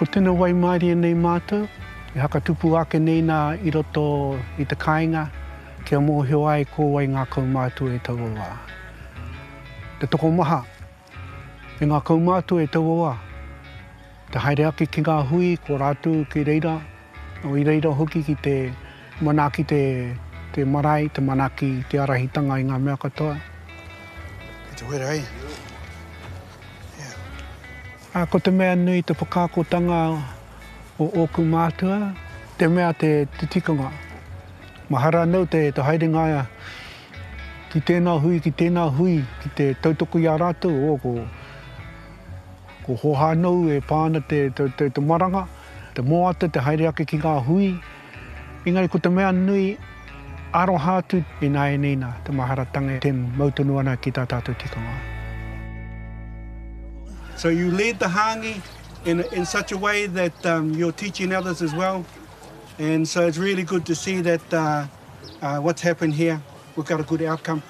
Ko tino waimarie nei mātou, e hakatupu ake nei nā i roto i te kāinga kia mōhio ai ko wai ngā kaumātua i taua wā. Te tokomaha e ngā kaumātua i taua wā, te haere ake ki ngā hui ko rātou ki reira, i reira hoki ki te manaaki te te marae, te manaaki te arahitanga i ngā mea katoa. Kei te wera e. Yeah. Ā, ko te mea nui te whakaakotanga o ōku mātua, te mea te tikanga. Mahara anō te haerenga ki tēnā hui, ki tēnā hui, ki te tautoko i a rātou, ō, ko, ko hōhā nou e pā ana te, te, te, te maranga, te moata, te haere ake ki ngā hui. Engari ko te mea nui, aroha atu ināianei nā, te maharatanga e mau tonu ana ki tā tātou tikanga. So you led the hangi in, in such a way that um, you're teaching others as well. And so it's really good to see that uh, uh, what's happened here, we've got a good outcome.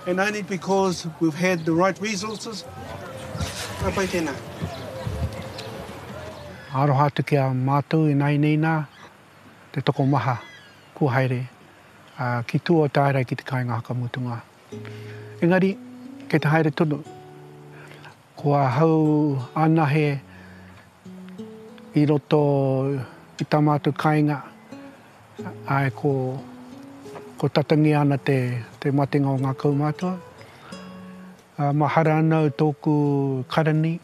And only because we've had the right resources. Ka pai tēnā. Aroha atu ki a mātou ināianei nā, te tokomaha kua haere ki tua o Tārai ki te kāinga whakamutunga. Engari, kei te haere tonu. Ko ahau anahe i roto i tā mātou kāinga, āe, ko, ko tatangia ana te, te matenga o ngā kaumātua. Mahara ana au tōku karani,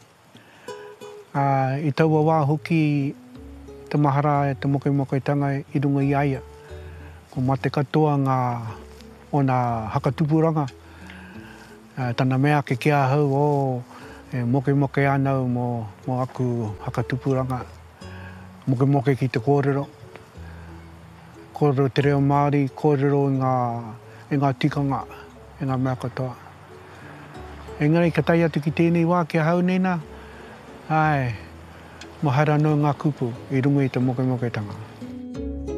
Ā, i taua wā hoki te mahara e te mokemoketanga i runga i a ia. Ko mate katoa ngā ōna hakatupuranga, ā, tana mea ake ki ahau, oh, e mokemoke ana au mō, mō aku hakatupuranga. Mokemoke ki te kōrero, kōrero te reo Māori, kōrero i ngā, i ngā tikanga, i ngā mea katoa. Engari ka tae atu ki tēnei wā ki ahau nei nā, āe, mahara anō ngā kupu i runga i te mokemoketanga.